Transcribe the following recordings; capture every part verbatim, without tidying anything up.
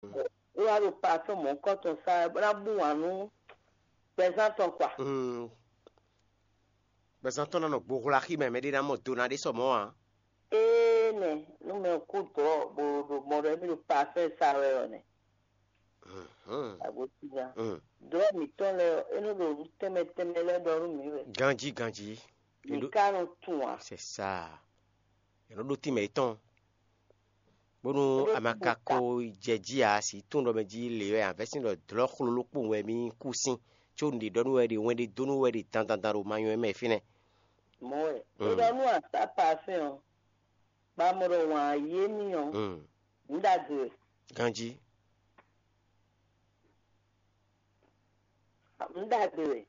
É wá ɖo parfum mɔ̌hunkɔtɔn sa wɛ bó ná bú wǎn nú gbɛzán tɔn kpa. Mm. Gbɛzán tɔn ná nɔ gbohwla xí mɛ, mɛɖé ná mɔ do ná ɖé sɔ mɔ̌ ǎ. Ee nɛ, nú mɛ kú dɔ̌ bó ɖo mɔ ɖɔ émí ɖo parfum sa wɛ ɔ́ nɛ. Mhm. Agosina. Mm. Dɔ̌ mǐtɔn lɛ́ɛ ɔ́, é nɔ ɖo nǔ tɛnmɛ tɛnmɛ lɛ́ɛ ɖɔ nú mǐ wɛ. Ganjí ganjí. Mǐ ka nɔ tunwun ǎ. C'est ça. È nɔ ɖó tínmɛ yětɔn. Bónú a ma ka ko jɛ jí ǎ, sǐ tunwun ɖɔ mɛ jí lě wɛ ǎ, vɛ̌ sín ɖɔ dlɔ̌ xlolo kpowun wɛ mì kú sín, có un ɖe ɖɔ nú wɛ ɖe wɛn ɖe dó nú wɛ ɖe dandan dan ɖo ma nywɛ́ mɛ fínɛ́. Mɔ̌ wɛ. Mm. É ɖɔ nú a sá parfɛn ɔ́, bɔ a mɔ ɖɔ wǎn yí émí ɔ́, Mm. nǔ ɖagbe wɛ. Ganjí. Nǔ ɖagbe wɛ.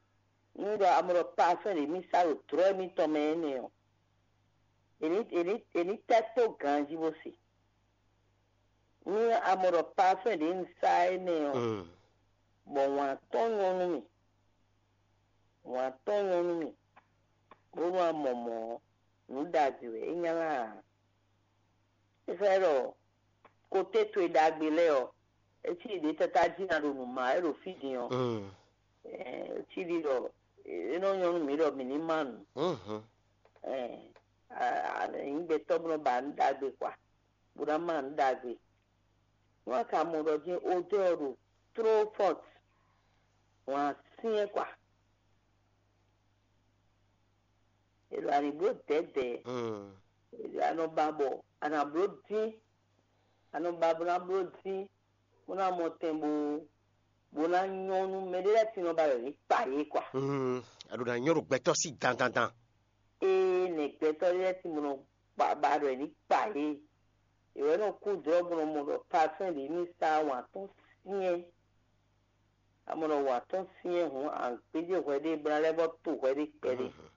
Nú ɖɔ a mɔ ɖɔ parfɛn ɖě mì sá ɖo dlɔ̌ émítɔn mɛ énɛ́ ɔ́, è ní è ní è ní tɛ́ tó ganjí bó se. Nú a mɔ ɖɔ parfɛn ɖě un sá énɛ́ ɔ́, Mm. bɔ wǎn tɔn nyɔ́ nú mì, wǎn tɔn nyɔ́ nú mì, bónú a mɔ mɔ̌ ɔ́, nǔ ɖagbe wɛ é nylá ǎ. É xlɛ́ ɖɔ koté towe ɖagbe lɛ́ɛ ɔ́, é cí ɖě káká jí ná ɖo nǔ má wɛ ɖo fí din ɔ́, Mm. é cí ɖi ɖɔ é nɔ nyɔ́ nú mǐ ɖɔ mǐ ní má nǔ. Mhm. Ɛɛ, a- a- nyǐ gbɛtɔ́ bó nɔ ba nǔ ɖagbe kpa, bó ná má nǔ ɖagbe. Nú a ka mɔ ɖɔ jɛ́n odɛ́ ɔ́ ɖo trop fort, wǎn syɛ́n kpa. È ɖo a nǐ bló dɛ̌dɛ̌. Mm. È ɖo a nɔ ba bɔ a nǎ bló dín, a nɔ ba bó ná bló dín, bó ná mɔ tɛn bó bó ná nyɔ́ nú mɛɖé lɛ́ɛ sin nɔ ba ɖɔ yě kpa yě kpa. Mm. A ɖo ná nyɔ́ ɖo gbɛtɔ́ sí dandandan. Ee, nɛ gbɛtɔ́ lɛ́ɛ sin bó nɔ ba ba ɖɔ yě ní kpa yě. È wɛ nɔ kú dlɔ́ bó nɔ mɔ ɖɔ parfɛn ɖě ní sá wǎn tɔn syɛ́n. A mɔ ɖɔ wǎn tɔn syɛ́n hǔn, a gbéjé hwɛ ɖé bó ná lɛ́ vɔ́ to hwɛ ɖé kpɛɖé. Mhm.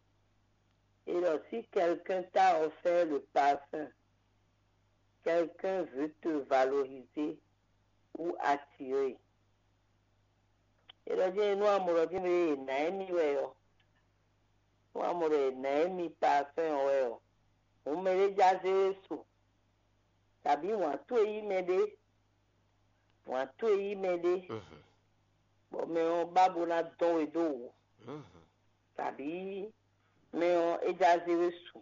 Et alors, si quelqu'un t'a offert le parfum, quelqu'un veut te valoriser ou attirer. Et alors, jɛ́n nú a mɔ ɖɔ jɛ́n mɛ e nǎ émí wɛ ɔ́, nú a mɔ ɖɔ è nǎ émí parfum ɔ́ wɛ ɔ́, hǔn mɛɖé já zé we su, kabǐ wǎn towe yí mɛɖé, wǎn towe yí mɛɖé, Mhm. bɔ mɛ ɔ́ ba bó ná dɔn we dó wǔ, Mhm. kabǐ mɛ ɔ́ é já zé we su.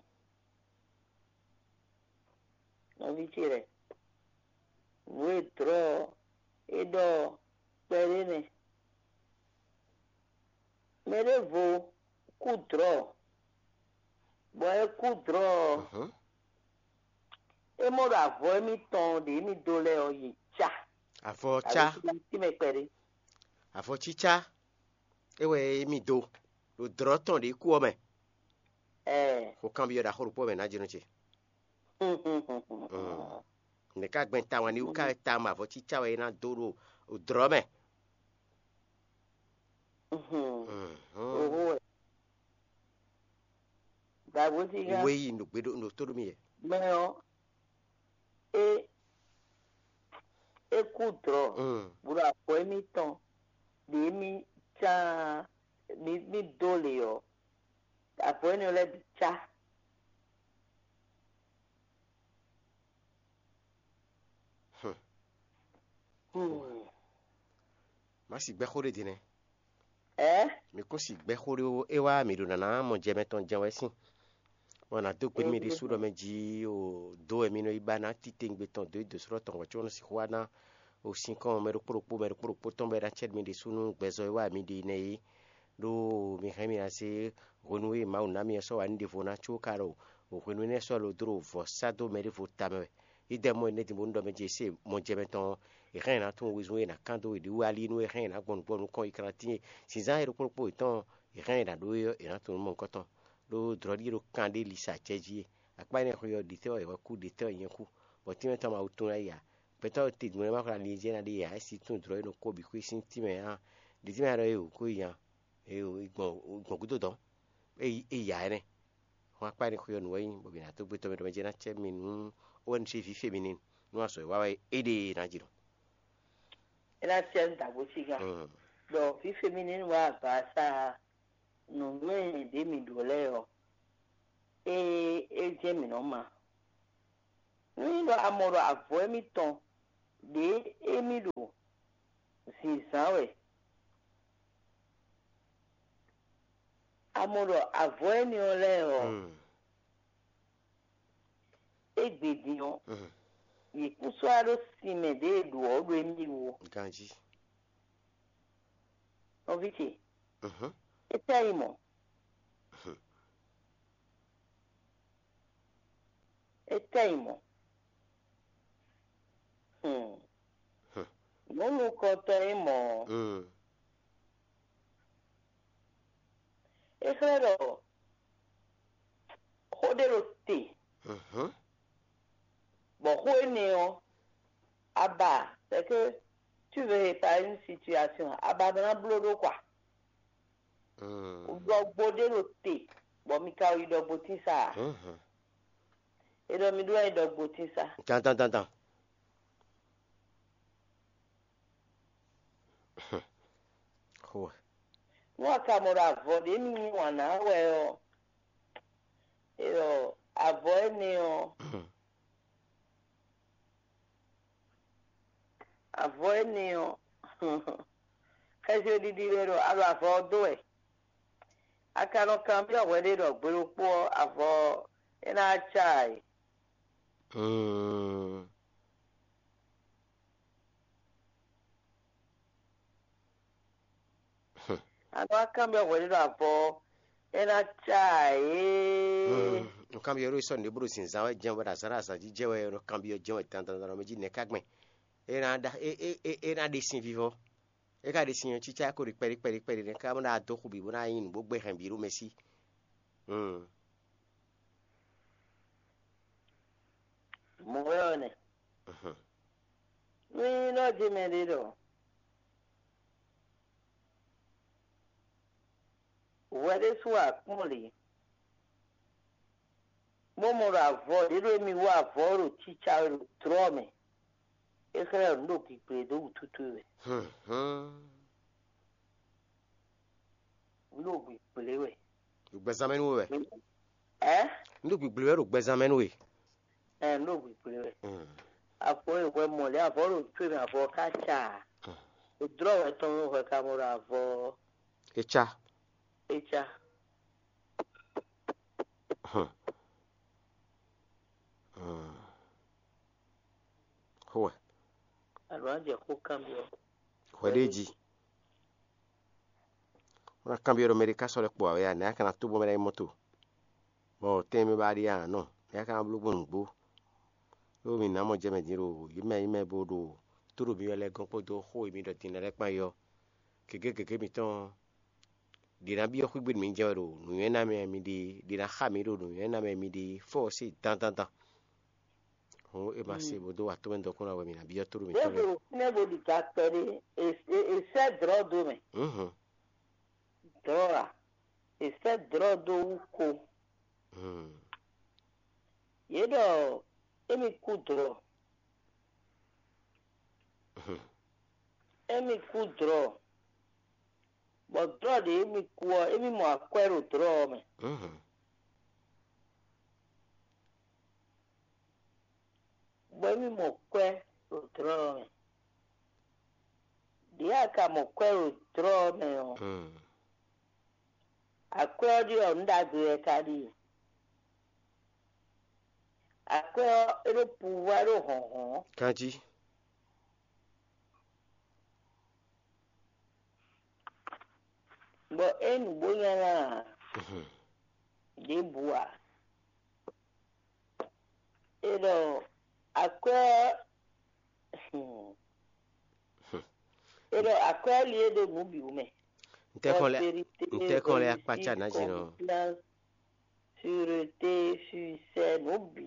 Nɔví ce lɛ́ɛ, nǔ e dlɔ̌ ɔ́ é ɖɔ ɔ́, kpɛɖé nɛ́. Mɛ ɖěvo kú dlɔ̌, bɔ é kú dlɔ̌ ɔ́, Mhm. é mɔ ɖo avɔ émítɔn ɖě émí dó lɛ́ɛ ɔ́, yě cá. Avɔ cá. Tínmɛ kpɛɖé. Avɔ cícá é wɛ émí dó ɖo dlɔ̌ tɔn ɖě kú ɔ́ mɛ. Ɛɛ. Xo kanbyɔ́ ɖaxó ɖokpó mɛ ná jínú ce. Nɛ̌ ká gbɛn tawun ní wú ká wɛ tawun avɔ cícá wɛ é ná dó ɖo dlɔ̌ mɛ? Oho wɛ. Dàgbò sí gán. Wé yi nǔgbé ɖo nǔ tó ɖo mì yɛ. Mɛ ɔ́, é é kú dlɔ̌, Mm. bó ɖo avɔ émítɔn ɖě mí cá mí mí dó lě ɔ́, avɔ énɛ́ lɛ́ɛ bǐ cá. Hmm. Hmm. Má sì gbɛ́ xó ɖé din nɛ́. Ɛ? Mi kún sì gbɛ́ xó ɖé ó, é wá mǐ ɖo nǎná mɔ jɛ mɛ tɔn jɛ́n wɛ sín. Bɔ nǎ dó gbe nú mì ɖésú ɖɔ mɛ jí o dó wɛ mi nɔ yi ba ná titewungbe tɔn dó yi dǒsrɔ́ tɔn hwɛ̌ có nɔ sixú wá ná o sín kɔn mɛ ɖokpó ɖokpó mɛ ɖokpó ɖokpó tɔn bɔ é ná cɛ́ mi ɖésú nú gbɛzɔ́ e wá mi ɖe nɛ́ é. Ɖó mi hɛn mì ná zé hwenu e Mawu ná mi ɔ́ sɔ́ wa nú ɖěvo ná có ka ɖo hwenu énɛ́ sɔ́ lo dó ɖo vɔ̌ sá dó mɛ ɖěvo tamɛ wɛ. Yi dɛ mɔ énɛ́ din bónú ɖɔ mɛ jí e se mɔjɛmɛ tɔn e hɛn è nǎ tunwun wezun e è nǎ kán dó è ɖi wú alí nú e hɛn è nǎ gbɔn nǔgbɔ nukɔn yi kantín e zǐnzán e ɖokpó ɖokpó yětɔn e hɛn è nǎ ɖó é ɔ́, è nǎ tunwun nú mɔ̌hunkɔtɔn. Ɖó dlɔ̌ ɖíe ɖo kan ɖé li sa acɛ jí e akpá énɛ́ xwe ɔ́, ɖitɛ́ wɛ è wɛ kú, ɖitɛ́ wɛ nyɛ kú, bɔ tínmɛ tɔn ma wú tún ná yi ǎ. Gbɛtɔ́ te dun lɛ́ɛ ma xwlá ali jɛ ná ɖe ǎ, é si tún dlɔ̌ e nɔ kó bǐ xwé sín tínmɛ ǎ. Ɖi tínmɛ ɖɔ é wǔ kó yi nya, é gbɔn gbɔn gúdo dɔn, é yi é ya ɛnɛ. Hɔn akpá énɛ́ xwe ɔ́ nǔ wɛ nyí, bɔ mǐ ná dó gbé tɔn mɛ ɖɔ mɛ jɛ ná cɛ mi nú ó wɛ nu ce vǐ féminin nú azɔ̌ e wa wɛ é ɖe ná jǐ nɔ. É ná cɛ nú dǎgbó cígán. Ɖɔ vǐ féminin wá agbasa nǔnywɛ́ ɖě mǐ ɖǒ lɛ́ɛ ɔ́, é é jɛ́n mǐ nɔ ma. Nú nyí ɖɔ a mɔ ɖɔ avɔ émítɔn ɖě émí ɖo zǐnzán wɛ. A mɔ ɖɔ avɔ énɛ́ ɔ́ lɛ́ɛ ɔ́, égbé din ɔ́, yě kún sɔ́ wá ɖó sin mɛ ɖě e ɖǒ ɔ́ ɖo émí wú ó. Ganjí. Nɔví ce, é tɛ́ nyí mɔ̌. É tɛ́ nyí mɔ̌. Nǔ nukɔntɔn nyí mɔ̌. É xlɛ́ ɖɔ xó ɖé ɖo te, bɔ xó énɛ́ ɔ́, a ba, c'est que tu veux réparer une situation, a ba ná bló ɖó kwa. Ɖɔgbo ɖé ɖo te, bɔ mi ka yi ɖɔgbo tín sa a? É ɖɔ mi ɖó wɛ nyí ɖɔgbo tín sa. Dandan dandan. Xo. Nú a ka mɔ ɖɔ avɔ ɖě mi yí wǎn ná wɛ ɔ́, é ɖɔ avɔ énɛ́ ɔ́, avɔ énɛ́ ɔ́, xɛsi ɖiɖi wɛ ɖɔ a ɖo avɔ ɔ́ dó wɛ. A ka nɔ kanbyɔ́ hwɛ ɖé ɖɔ gbe ɖokpó ɔ́, avɔ ɔ́, é ná cá ǎ é. A nɔ wá kanbyɔ́ hwɛ ɖé ɖo avɔ ɔ́, é ná cá ǎ é. Nǔkanbyɔ́ ɖo sɔ́ nǔɖé bó ɖo zǐnzán wɛ jɛ́n wɛ, ɖo azǎn ɖo azǎn jí jɛ wɛ, nɔ kanbyɔ́ jɛ́n wɛ dandan dandan mɛ jí nɛ̌ ká gbɛn? É ná ɖa é é é é ná ɖe sin vivɔ. É ka ɖe sin ɔ́, cícá ko ɖi kpɛɖi kpɛɖi kpɛɖi nɛ́ ká bó ná dó xu bǐ bó ná nyí nǔ bó gbé hɛn bǐ ɖó mɛ sí. Mɔ̌ wɛ ɔ́ nɛ. Nú nyí nɔ jí mɛ ɖé ɖɔ hwɛ ɖésú akpɔ́n lě, bó mɔ ɖɔ avɔ ɖě ɖo émí wú avɔ ɔ́ ɖo cícá wɛ ɖo dlɔ́ mɛ, é xlɛ́ ɖɔ nǔ ɖo gǐgblé dó wútu towe wɛ. Nǔ ɖo gǐgblé wɛ. Ɖo gbɛzán mɛ nú we wɛ. Ɛ? Nǔ ɖo gǐgblé wɛ ɖo gbɛzán mɛ nú we. Ɛ, nǔ ɖo gǐgblé wɛ. Avɔ e hwɛ mɔ lě avɔ ɖo towe mɛ avɔ ká ca. Dlɔ́ wɛ tɔn hwɛ ka mɔ ɖo avɔ. É cá. É cá. Xó wɛ. Alo a jɛ xó kanbyɔ́. Hwɛ ɖé jí. Wọ́n ná kanbyɔ́ ɖɔ mɛ ɖé ká sɔ́ lɛ́ kpo ǎ wɛ a, nɛ̌ a ka ná tó bɔ mɛ lɛ́ɛ yi mɔ́ to? Bɔ tɛ́nmɛ bá ɖíe a nɔ, nɛ̌ a ka ná bló gbɔn nǔgbó? Ɖó mi nǎ mɔ jɛ mɛ din ɖo yǐ mɛ yí mɛ bo ɖo tó ɖo mi wɛ lɛ́ɛ gɔ́n kpódó xó e mi ɖɔ din lɛ́ɛ kpán yi ɔ́, gěgé gěgé mitɔn ɔ́, ɖě ná byɔ́ xwígbe nú mi jɛ wɛ ɖo nǔnywɛ́ ná mɛ mi ɖe, ɖě ná xa mi ɖo nǔnywɛ́ ná mɛ mi ɖe fɔ́ ɔ́ se dandandan. Hǔn é ma se bó dó wa tomɛ dɔkun ná wɛ mi ná byɔ́ tóɖó Yě mǐtɔn lɛ́ɛ. Ɖo fínɛ́ bó ɖi ga kpɛɖé, è sɛ́ dlɔ̌ dó mɛ. Mhm. Dlɔ̌ a? È sɛ́ dlɔ̌ dó wú ko. Hmm. Yě ɖɔ émí kú dlɔ̌. Mhm. Émí kú dlɔ̌. Bɔ dlɔ̌ ɖě émí kú ɔ́, émí mɔ akwɛ́ ɖo dlɔ̌ ɔ́ mɛ. Mhm. Bɔ émí mɔ kwɛ́ ɖo dlɔ̌ ɔ́ mɛ. Ɖěe a ka mɔ kwɛ́ ɖo dlɔ̌ ɔ́ mɛ ɔ́, akwɛ́ ɔ́ ɖíe ɔ́, nǔ ɖagbe wɛ ka ɖíe. Akwɛ́ ɔ́, é ɖó puvwá, é ɖó hlɔ̌nhlɔ́n. Kanjí. Bɔ é nǔgbó nyanya ǎ. Mhm. Ɖěbǔ ǎ. É ɖɔ akwɛ́ ɔ́, hmm. É ɖɔ akwɛ́ ɔ́ li é ɖo nǔ bǐ wú mɛ. Ntɛ́kɔn lɛ́ Prospérité, ntɛ́kɔn lɛ́ réussite, akpácá nǎ jí nɔ. Confiance, sûreté, succès, nǔ bǐ.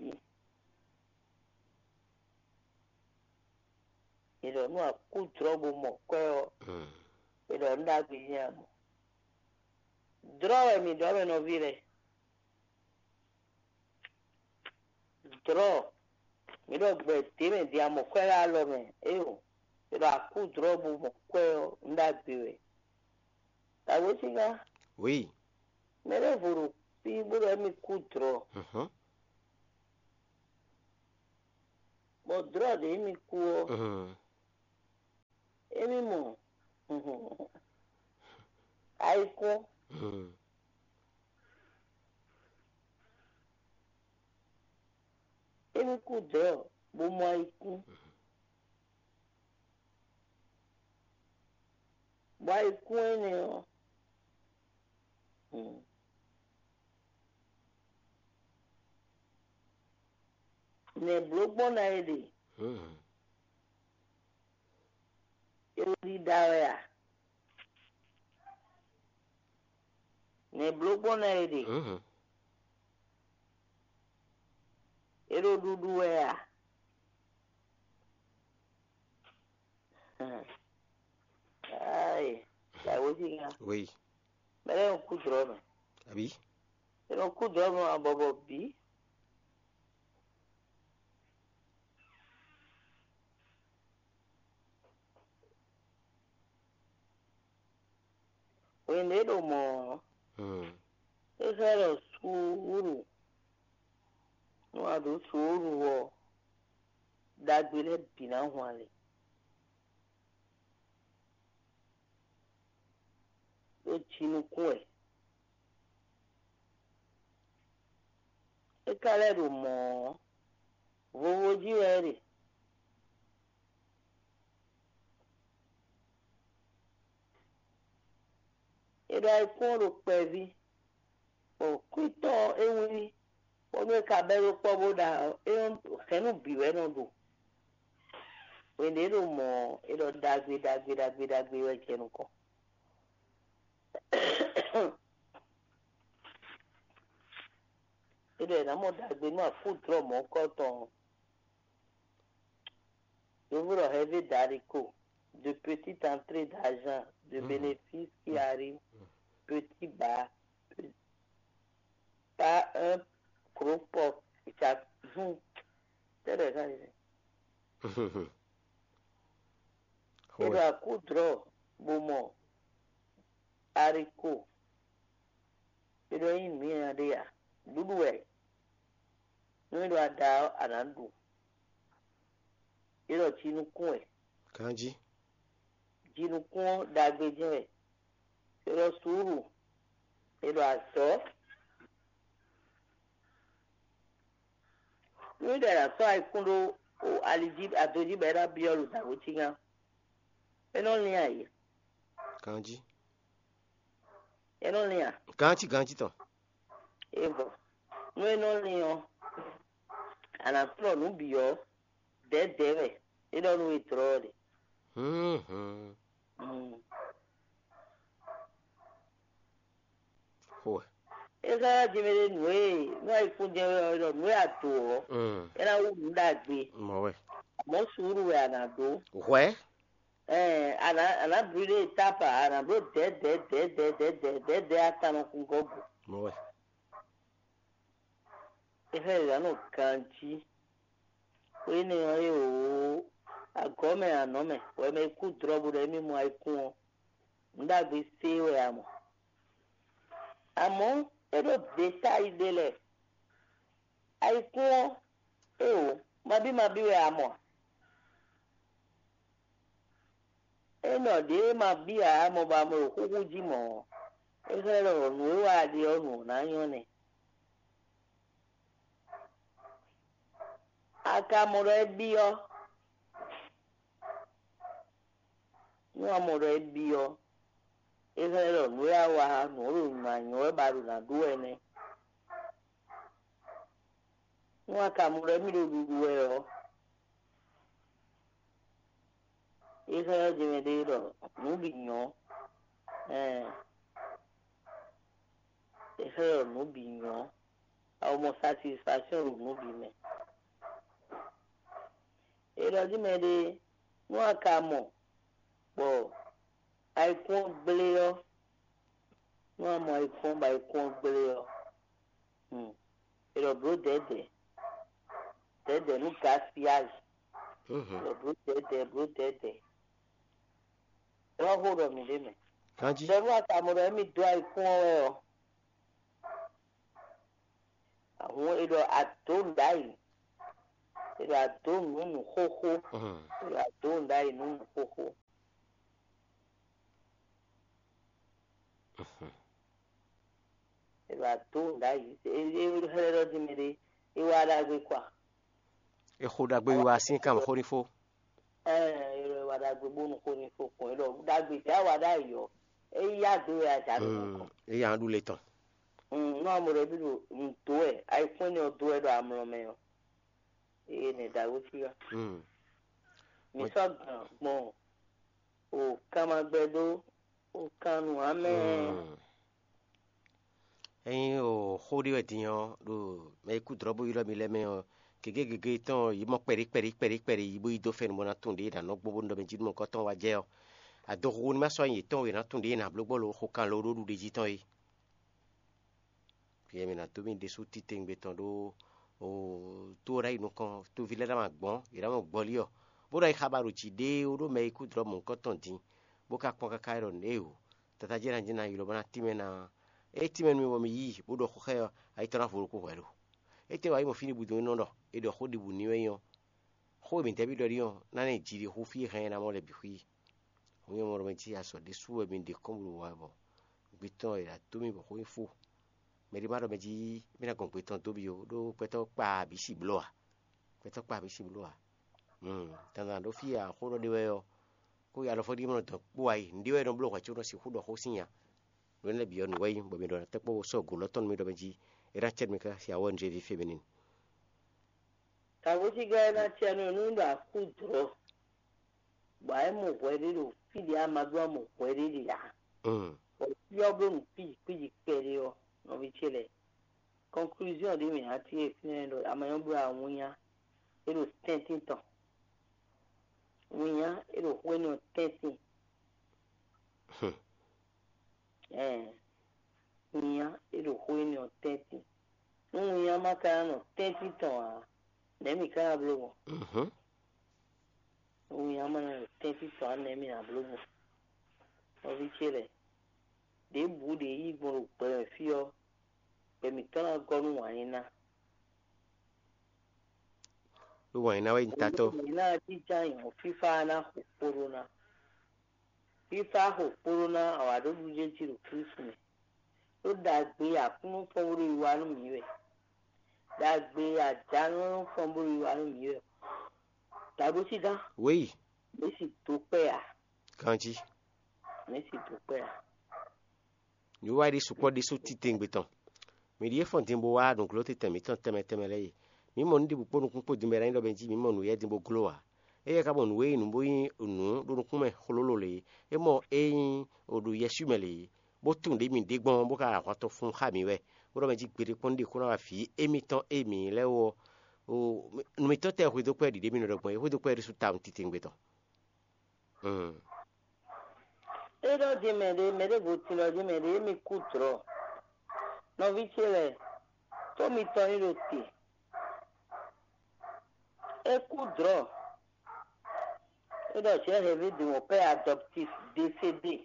È ɖɔ nú a kú dlɔ́ bó mɔ kwɛ́ ɔ́, è ɖɔ nǔ ɖagbe nyí a mɔ. Dlɔ́ wɛ mǐ ɖɔ mɛ nɔví lɛ́ɛ. Dlɔ́, mǐ ɖɔ gbɛ dě mɛ din a mɔ kwɛ́ ɖo alɔ mɛ, éyo, è ɖɔ a kú dlɔ́ bó mɔ kwɛ́ ɔ́, nǔ ɖagbe wɛ. Awǒsígá, Oui. Mɛ ɖěvo ɖo fí bó ɖɔ émí kú dlɔ́. Mhm. Bó Bɔ dlɔ̌ ɖě émí kú ɔ́, émí mɔ ayikún, émí kú dlɔ̌ bó mɔ ayikún, bɔ ayikún énɛ́ ɔ́, nɛ̌ bló gbɔn ná é ɖe? É ɖo ɖiɖa wɛ a? Nɛ̌ bló gbɔn ná é ɖe? É ɖo ɖuɖu wɛ a? Ayi, la wéjinga. Oui. Mɛ lɛ́ɛ nɔ kú dlɔ̌ mɛ. Àbí? É nɔ kú dlɔ̌ mɛ abɔbɔ bǐ. Hwenu e é ɖo mɔ̌ ɔ́, é xlɛ́ ɖɔ suúlu, nú a ɖǒ suúlu ɔ́, ɖagbe lɛ́ɛ bǐ ná hwan lě. Ɖó jinukún wɛ. É ka lɛ́ ɖo mɔ̌ ɔ́, vovo jí wɛ é ɖe. È ɖo ayikún ɔ́ ɖo kpɛví, bɔ kwítɔ́ ɔ́ é wlí, bónú é ka bɛ́ ɖó kpɔ́ bó ɖa ɔ́, é nɔ hɛ̌nnu bǐ wɛ é nɔ ɖu. Hwenu e é ɖo mɔ̌ ɔ́, é ɖɔ ɖagbe ɖagbe ɖagbe ɖagbe wɛ jɛ nukɔn. É ɖɔ è nǎ mɔ ɖagbe nú afúdlɔ́ mɔ̌kɔ́ tɔn ɔ́. Yovó ɖɔ heavy d'haricot, de petite entrée d'argent, de bénéfice qui arrive, petit bas, pe- pas un gros porc. Tɛ́lɛ̌ ká yɛ. É ɖo akúdlɔ́ bó mɔ haricot. É ɖɔ nyí nǔ nyanya ɖé a? Ɖuɖu wɛ. Nú é ɖo ada ɔ́, a nǎ ɖu. É ɖɔ jinukún wɛ. Ganjí. Jinukún ɔ́ ɖagbe jɛ́n wɛ. É ɖɔ suúlu. É ɖɔ azɔ̌. Nú é ɖɔ è nǎ sɔ́ ayikún ɖó ali jí, ado jí bɔ é ná byɔ́ ɖo dǎwe cígán, é nɔ lín ayǐ. Ganjí. É nɔ lín a? Ganjí, ganjí tɔn. É vɔ. Nú é nɔ lín ɔ́, a nǎ flɔ́ nǔ bǐ ɔ́, dɛ̌dɛ̌ wɛ. É ɖɔ nú we dlɔ́ ɔ́ ɖe. Xo wɛ. É xlɛ́ ná jɛ mɛ ɖé nǔ e nú ayikún jɛ wɛ ɔ́, é ɖɔ nǔ e a do ɔ́, é ná wú nǔ ɖagbe. Mɔ̌ wɛ. Amɔ̌ suúlu wɛ a nǎ ɖó. Hwɛ̌. Ɛɛ, a nǎ a nǎ brûlé étape a, a nǎ bló dɛ̌dɛ̌ dɛ̌dɛ̌ dɛ̌dɛ̌ dɛ̌dɛ̌ atannɔkun gɔ́ gǔ. Mɔ̌ wɛ. É xlɛ́ yě ná nɔ ganjí. Xó énɛ́ ɔ́ é wǒ agɔ̌ mɛ anɔ̌ mɛ, wɛ mɛ e kú dlɔ̌ bó ɖɔ émí mɔ ayikún ɔ́, nǔ ɖagbe sé wɛ a mɔ. Amɔ̌, é ɖó dětáyi ɖé lɛ́ɛ. Ayikún ɔ́, é wǒ, mabí mabí wɛ a mɔ a? É nɔ ɖě ma bí ǎ, mɔ bɔ a mɔ ɖo xúxú jí mɔ̌ ɔ́, é xlɛ́ ɖɔ nǔ e wa a ɖe ɔ́, nǔ ɔ́ ná nyɔ́ nɛ́. A ka mɔ ɖɔ é byɔ́? Nú a mɔ ɖɔ é byɔ́, é xlɛ́ ɖɔ nǔ e a wa, nǔ e ɖo nǔ ná nyɔ́ wɛ bɔ a ɖo nǎ ɖu wɛ nɛ́. Nú a ka mɔ ɖɔ émí ɖo ɖuɖu wɛ ɔ́, é xlɛ́ ɔ́ jɛmɛ ɖé ɖɔ nǔ bǐ nyɔ́. Ɛɛ, é xlɛ́ ɖɔ nǔ bǐ nyɔ́. A mɔ satisfaction ɖo nǔ bǐ mɛ. É ɖɔ jí mɛ ɖé, nú a ka mɔ bɔ ayikún ɔ́ gblé ɔ́, nú a mɔ ayikún ɔ́ bɔ ayikún ɔ́ gblé ɔ́, hmm, è ɖɔ blǒ dɛ̌dɛ̌, dɛ̌dɛ̌ nú gaspillage, è ɖɔ blǒ dɛ̌dɛ̌, blǒ dɛ̌dɛ̌. É wá xó ɖɔ mǐ ɖ'é mɛ. Ganjí. Ɖɔ nú a ka mɔ ɖɔ émí dó ayikún ɔ́ wɛ ɔ́, ahǔn è ɖɔ a dǒ nǔ ɖ'ayǐ. È ɖo adǒ nǔ nǔ xóxó. Mm. È ɖo adǒ nǔ ɖ'ayǐ nǔ nǔ xóxó. Mhm. È ɖo adǒ nǔ ɖ'ayǐ. Xlɛ́ ɖɔ jí mɛ ɖé, é wá ɖagbe kwa. È xo ɖagbe wiwa sín kan xó ní fó. Ɛɛ, è ɖɔ é wá ɖagbe bónú xó ní fó kɔn. É ɖɔ ɖagbe tɛ á wá ɖ'ayǐ ɔ́, é yí adǒ wɛ a jà ɖo nukɔn. Mm, é yí aɖú le tɔn. Mm, nú amɔ ɖé bí ɖo nǔ dó wɛ, ayikún énɛ́ ɔ́ dó wɛ ɖo amlɔ mɛ ɔ́, eye nɛ ɖagbe fí wá. Mm. Mi sɔ́ gǎn gbɔn o kanmagbɛ́ ɖó o kan nǔ amɛ. Mm. Ényí o xó ɖé wɛ din ɔ́, ɖo mɛ e kú dlɔ̌ bó ylɔ́ mi lɛ́ɛ mɛ ɔ́, gěgé gěgé tɔn yě mɔ kpɛɖí kpɛɖí kpɛɖí kpɛɖí yi bó yi dó fɛ́n bó ná tunwun ɖě è nǎ nɔ gbɔn bó nɔ ɖɔ mɛ jí nú mɔ̌hunkɔtɔn wá jɛ ɔ́, adoxuxu ní ma sɔ́ nyi yětɔn e è nǎ tunwun ɖě è nǎ bló gbɔn lo xo kan lo ɖó ɖuɖéjí tɔn é. Vǐ e mǐ ná dó mì ɖésú titewungbe tɔn ɖó o tó ɔ́ ná yi nukɔn, toví lɛ́ɛ ná ma gbɔn, yě ná mɔ gbɔlí ɔ́, bó ná yi xaba ɖo jǐ ɖéé ó ɖó mɛ e kú dlɔ̌ mɔ̌hunkɔtɔn din, bó ka kpɔ́n káká é ɖɔ nǔ éeǒ, tata jɛ́n ná jɛ́n ná ylɔ́ bó ná tínmɛ ná. Ée tínmɛ nú mì bɔ mì yí i, bó ɖɔ xó xá ɛ ɔ́, ayi tɔn ná vo ɖokpó hwɛ̌ lo. Étɛ́ wǎ yi mɔ fí ɖěbǔ din é nɔ ɖɔ è ɖɔ xó ɖěbǔ n'i wɛ é nyí ɔ́, xó e mǐ dɛ́ bí ɖɔ é nyí ɔ́, ná ná yi jiɖixú fí e hɛn ɛ ná mɔ lɛ́ɛ bǐ xwí. Hǔn nyɛ mɔ ɖɔ mɛ jí azɔ̌ ɖésú wɛ mi ɖe kɔ́n bó ɖo wa bɔ gbé tɔn è nǎ dó mì bɔ xó nyí fó. Mɛ ɖé ma ɖɔ mɛ jí mì ná gɔn gbé tɔn dó mi ó, ɖó gbɛtɔ́ kpa bǐ si bló ǎ. Gbɛtɔ́ kpa bǐ si bló ǎ. Dandan ɖó fí e axó ɖɔ ɖe wɛ ɔ́, kó yi alɔfɔ́ ɖíe mɔ dɔn kpó wá yi, nǔɖé wɛ è nɔ bló hwɛ̌ có nɔ sixú ɖɔ xó sín nya. Nǔ énɛ́ bǐ ɔ́, nǔ wɛ nyí bɔ mi ɖɔ ná tɛ́ kpó sɔ́ gǒ lɔ́ tɔn nú mi ɖɔ mɛ jí é ná cɛ nú mi káká sin awɔ́ nǔ ví féminin. Tagbo cí gɛ́ ná cɛ nú nú ɖo akú dlɔ̌, bɔ é mɔ hwɛ ɖé ɖo fí ɖě a ma ɖó amɔ hwɛ ɖé ɖe ǎ. Bɔ fí ɔ́ bló nǔ kpíji kpíji kpɛɖé ɔ́, nɔví ce lɛ́ɛ, conclusion ɖé mǐ ná cí e fínɛ́ ɖɔ amanyɔ́ bló awúnya, é ɖo tɛ́ntin tɔn. Wínnya é ɖo xwé nɔ tɛ́ntin. Ɛɛ, wínnya é ɖo xwé nɔ tɛ́ntin. Nú wínnya ma ka ná nɔ tɛ́ntin tɔn ǎ, nɛ̌ mǐ ka ná bló gbɔn? Nú wínnya ma ná nɔ tɛ́ntin tɔn ǎ, nɛ̌ mǐ ná bló gbɔn? Nɔví ce lɛ́ɛ, ɖěbǔ ɖě yí gbɔn ɖo gbɛ mɛ fí ɔ́, gbɛ mǐtɔn ná gɔ́ nú wǎn yí ná. Ɖó wǎn yí ná wɛ nyí tatɔ́. Mǐ ná jínjɔ́n ayǐ hɔn fífá ná xo kpóɖó ná. Fífá xo kpóɖó ná awǎɖóɖújéjí ɖo Klísu mɛ. Ɖó ɖagbe e Aklúnɔ fɔ́n bó ɖo yi wá nú mǐ wɛ. Ɖagbe e ajǎnɔ fɔ́n bó ɖo yi wá nú mǐ wɛ. Dǎɖósígán. Wěyi. Mǐ sì dó kpɛ́ ǎ. Ganjí. Mǐ sì dó kpɛ́ ǎ. Nǔwiwa ɖé sukpɔ́ ɖésú titewungbe tɔn. Mǐ ɖíe fɔ́n din bó wá nǔgló tɛn mǐtɔn tɛnmɛ tɛnmɛ lɛ́ɛ e. Mǐ mɔ nǔ ɖěbǔ kpó nukún kpó din bɔ é ná nyí ɖɔ mɛ jí mǐ mɔ nǔ yɛ́ din bó gló ǎ. Éyɛ́ ka mɔ nǔ e nyí nǔ bó nyí nǔ ɖo nukún mɛ xlóló lě, é mɔ é nyí ɖo yɛswí mɛ lě, bó tunwun ɖě mǐ ɖe gbɔn bó ka ahwan tɔn fun xá mǐ wɛ, bó ɖɔ mɛ jí gbeɖé kpɔ́n ɖe kó ná wá vǐ émítɔn e mǐ lɛ́ɛ wú ɔ́, nǔ mǐtɔn tɛ́ hwedó kpɛ́ ɖiɖe mì nɔ ɖɔ gbɔn é, hwedó kpɛ́ ɖésú tawun titewungbe tɔn. É ɖɔ din mɛ ɖé, mɛ ɖěvo tin ɖɔ din mɛ ɖé, émí kú dlɔ̌. Nɔví ce lɛ́ɛ, tó mitɔn nyí ɖo te. É kú dlɔ̌. É ɖɔ j'ai rêvé de mon père adoptif décédé.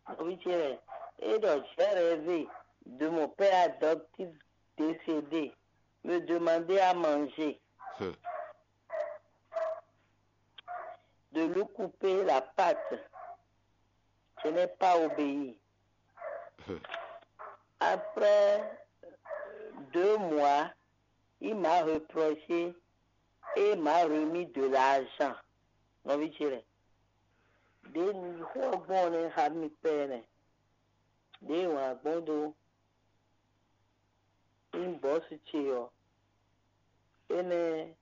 Nɔví ce lɛ́ɛ, é ɖɔ j'ai rêvé de mon père adoptif décédé me demander à manger. De lui couper la patte. Je n'ai pas obéi. Après deux mois, il m'a reproché et m'a remis de l'argent. Nɔví ce lɛ́ɛ, ɖě un yi xó ɔ́ gbɔn ɔ́ nɛ́ xá mi pɛ́ nɛ́. Ɖěe wǎn gbɔn dó nyí bɔ̌su ce ɔ́, énɛ́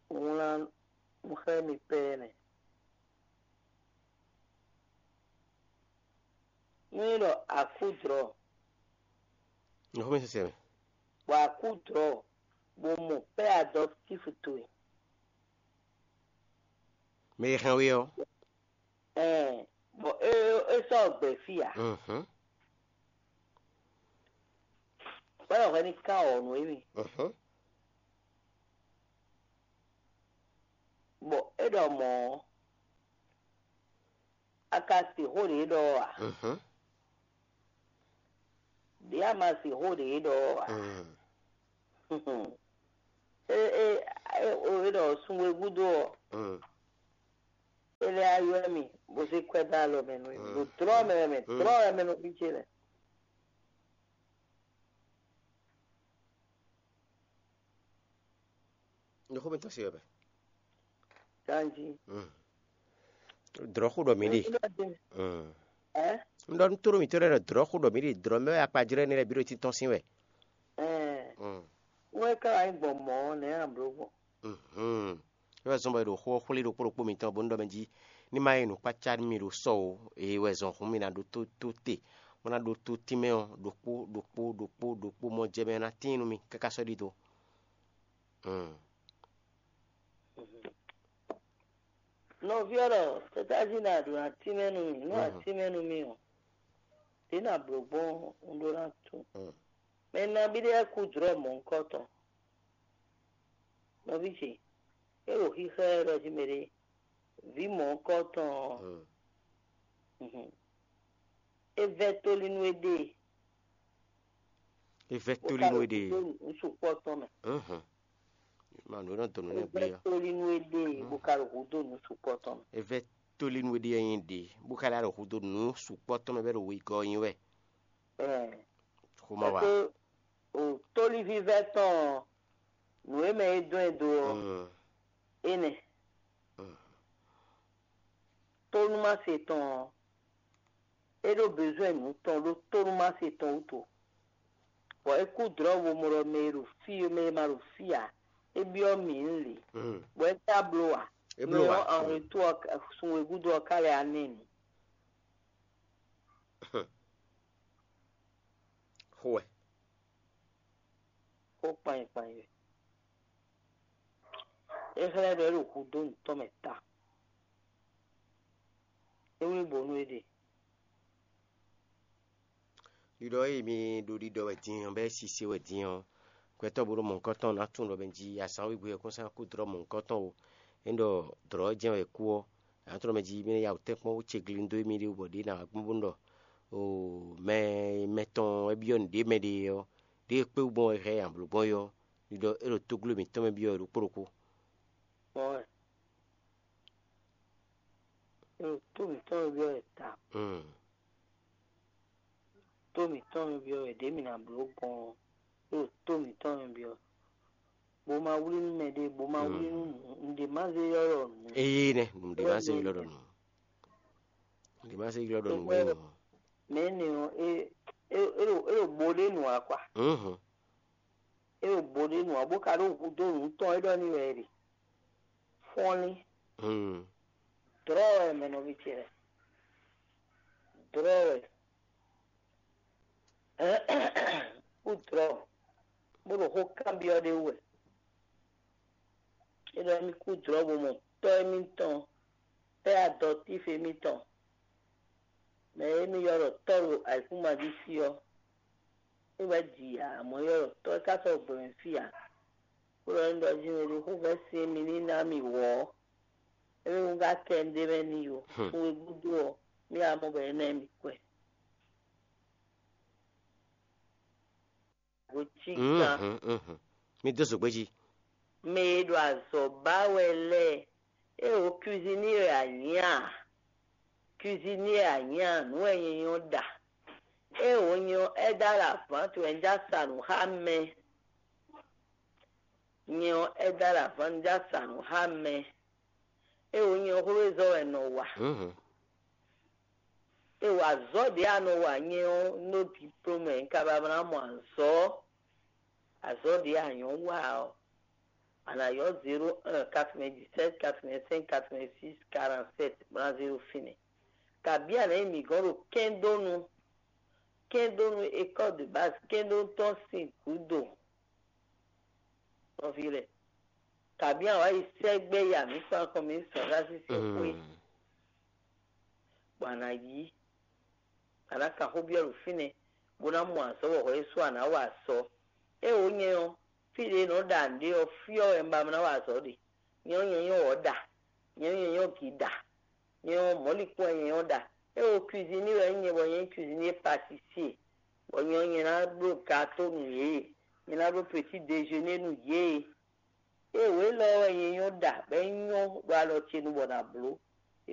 wlán nú xlɛ́ mi pɛ́ nɛ́. Nú é ɖɔ a kú dlɔ̌, Nǔ xó mɛ sɛsɛ mɛ. Bɔ a kú dlɔ̌, bɔ mɔ pɛ́ adɔptífu towe. Mɛ e hɛn we ɔ́. Ɛɛ, bɔ é é sɔ́ gbɛ fí ǎ. Mhm. Bɔ́ hwɛ ní kán ɔ̌ nú émí. Mhm. Bɔ é ɖɔ mɔ̌ ɔ́, a ka se xó ɖě ɖɔ ɔ́ ǎ? Mhm. Ɖě a ma se xó ɖě ɖɔ ɔ́ ǎ? Mhm. E e e o e ɖɔ sunwe gúdo ɔ, Mm. E lɛ ayɔ mi, bó zé kwɛ dó alɔ mɛ nú mi. Ɖo drɔ mɛ wɛ mɛ, drɔ wɛ mɛ nɔ fi ce lɛ. Ɖo xó mǐtɔn se wɛ mɛ. Ganji. Drɔ̌ xó ɖɔ mǐ ɖe. Ɛ? Un ɖɔ nú tóɖó mǐtɔn lɛ́ɛ ɖɔ drɔ̌ xó ɖɔ mǐ ɖe, drɔ̌ mɛ wɛ akpajlɛ́ énɛ́ lɛ́ɛ bǐ ɖo títɔ́n sín wɛ. Ɛ. Mm. Wɛ ká wá nyí gbɔn mɔ̌ ɔ́, nɛ̌ a blǒ gbɔn? Mhm. É wɛ zɔ́n bɔ è ɖo xó ɔ́ xwlé ɖokpó ɖokpó mitɔn bó nú ɖɔ mɛ jí ní má nyí nǔkpácá nú mi ɖo sɔ o, é wɛ zɔn hǔn mi ná ɖótó tó te, bó ná ɖótó tínmɛ ɔ́ ɖokpó ɖokpó ɖokpó ɖokpó mɔ jɛ mɛ ná tíin nú mi káká sɔ́ ɖidó. Mm. Nɔví ɔ́ ɖɔ, tɛ́tájí ná ɖo atínmɛ nú mì, nú atínmɛ nú mì ɔ́, ɖě ná blǒ gbɔn un ɖó ná tunwun. Mɛ nabí ɖé wɛ kú jlɔ́ mɔ̌hunkɔtɔn. Nɔví ce, é ɖo xíxlɛ́ ɖɔ jí mɛɖé, vǐ mɔ̌hunkɔtɔn ɔ́, é vɛ́ tóli nú éɖée. É vɛ́ tóli nú éɖée. Bó ka ɖo hǔdó nǔ sukpɔ́ tɔn mɛ. Mhm. Ma nǔ e nɔ dɔn nǔ nɛ́ gblé ɔ́. Tóli nú éɖée bó ka ɖo hǔdó nǔ sukpɔ́ tɔn mɛ. É vɛ́ tóli nú éɖée nyí ɖě, bó ka lɛ́ ɖo hǔdó nǔ sukpɔ́ tɔn mɛ bɔ é ɖo wegɔ́ nyi wɛ. Ɛɛ. Xomawá. Pɛ́pɛ́ o tóli vívɛ́ tɔn ɔ́, nǔ e mɛ é dɔn ɛ dó ɔ́, Mm. Énɛ́. Mm. Tónúmase tɔn ɔ́, é ɖó bezwɛ́n nǔ tɔn ɖó tónúmase tɔn wútu. Bɔ é kú dlɔ̌ bo mɔ ɖɔ mɛ e ɖo fí mɛ e ma ɖo fí ǎ, é byɔ́ mǐ nú lě, bɔ é ka bló ǎ. É bló ǎ. Mɛ ɔ́, anwlɛ́ntú ɔ́, sun e gúdo ɔ́ ka lɛ́ wá nɛ́ nǔ. Xó wɛ. Xó kpanyi kpanyi wɛ. É xlɛ́ ɖɔ é ɖo hudó nǔtɔn mɛ ta. É wlí bo nú éɖée. Ɖiɖɔ e mi ɖo ɖiɖɔ wɛ din ɔ́, bɔ é sise wɛ din ɔ́, gbɛtɔ́ bo ɖo mɔ̌hunkɔtɔn ná tunwun ɖɔ mɛ jí azǎn wegbe wɛ kún sán kú dlɔ́ mɔ̌hunkɔtɔn o. É ɖɔ dlɔ̌ jɛ́n wɛ kú ɔ́, nǎ tunwun ɖɔ mɛ jí mi ná ya wǔ tɛ́nkpɔ́n wú ce glín dó émí ɖé wú bɔ ɖě ná wá gbɔn bó nú ɖɔ o mɛ mɛtɔn wɛ byɔ́ nǔɖé mɛ ɖe ɔ́, ɖěe kpé wú gbɔn wɛ hɛn nyi amblǒ gbɔn é ɔ́, ɖiɖɔ é ɖo tógló mǐtɔn mɛ byɔ́ wɛ ɖokpó ɖokpó. Mɔ̌ wɛ. É ɖo tó mǐtɔn mɛ byɔ́ wɛ ta. Mm. Tó mǐtɔn mɛ byɔ́ wɛ ɖě mǐ ná bló gbɔn ɔ́, é ɖo tó mǐtɔn mɛ byɔ́. Bo ma wlí nú mɛɖé, bo ma wlí nú nǔ, nǔɖé má zé ylɔ́ ɖɔ nǔ. Eye nɛ, nǔɖé má zé ylɔ́ ɖɔ nǔ. Nǔɖé má zé ylɔ́ ɖɔ nǔ wɛ nɔ. Mɛ énɛ́ ɔ́, é é é ɖo é ɖo bo ɖé nǔ ǎ kwa. Mhm. É ɖo bo ɖé nǔ ǎ, bó ka ɖó hudó nǔ tɔn é ɖɔ n'i wɛ é ɖe. Fɔ́nlín. Hmm. Dlɔ́ wɛ mɛ nɔví ce lɛ́ɛ. Dlɔ́ wɛ. Kú dlɔ́, bó ɖo xó kanbyɔ́ ɖé wú wɛ. É ɖɔ émí kú dlɔ́ bo mɔ tɔ́ émítɔn, pɛ́ adɔtíf émítɔn, mɛ e émí ylɔ́ ɖɔ tɔ́ ɖo ayǐkúngban jí fí ɔ́, é wɛ ji ǎ, amɔ̌ é ylɔ́ ɖɔ tɔ́ é ka sɔ́ gbɛ mɛ fí ǎ. Bó ɖɔ émí ɖɔ jí mɛ ɖé xó vɛ́ sin émí ní ná mì wɔ̌ ɔ́, émí wú ká kɛ un ɖ'é mɛ n'i ó. Sun e gúdo ɔ́, mì wá mɔ bɔ é ná mì kwɛ. Go cí gán. Mhm, mhm. Mi dó zǒgbé jí. Mɛ e ɖo azɔ̌ ba wɛ lɛ́ɛ, é wo cuisinier wɛ a nyǐ a? Cuisinier a nyǐ a? Nǔ wɛ nyɛ nyɔ́ ɖa. É wo nyɛ ɔ́, aide à la vente wɛ un já sa nǔ xá mɛ. Nyɛ ɔ́, aide à la vente un já sa nǔ xá mɛ. É wo nyɛ ɔ́, xwézɔ́ wɛ nɔ wa. Mhm. É wa azɔ̌ ɖě a nɔ wa nyɛ ɔ́, nú diplôme wɛ un ka ba ná mɔ azɔ̌. Azɔ̌ ɖě a nyɔ̌ wa ɔ́, a nǎ ylɔ́ zéro un, quatre-vingt-dix-sept, quatre-vingt-cinq, quatre-vingt-six, quarante-sept, bó ná zéro fínɛ́. Kabǐ a nǎ nyi mǐ gɔ́n ɖo kɛ́ndónu, kɛ́ndónu école de base, kɛ́ndónu tɔn sín gǔdo. Nɔví lɛ́ɛ, kabǐ a wǎ yi sɛ́gbɛ́ ya mǐ kpán kɔn mǐ sɔ̌ xá sísí xwé, bɔ a nǎ yí, a nǎ kan xó byɔ́ ɖo fínɛ́, bó ná mɔ azɔ̌ bɔ hwɛ ɖésú a nǎ wa azɔ̌. É wǒ nyɛ ɔ́, fí ɖě è nɔ ɖa nǔ ɖe ɔ́, fí ɔ́ wɛ un ba ná wa azɔ̌ ɖe. Nyɛ ɔ́, nyɛ nyɔ́ wɔ̌ ɖa, nyɛ ɔ́, nyɛ nyɔ́ gǐ ɖa, nyɛ ɔ́, mɔ̌likún wɛ nyɛ nyɔ́ ɖa. É wo cuisinier wɛ nyí nyɛ, bɔ nyɛ nyí cuisinier pâtissier, bɔ nyɛ ɔ́, nyɛ ná bló gâteau nú yě, nyɛ ná bló petit déjeuner nú yě. Ée wě lɔ wɛ nyɛ nyɔ́ ɖa bɔ é nyɔ́ ɖo alɔ ce nu bɔ nǎ bló.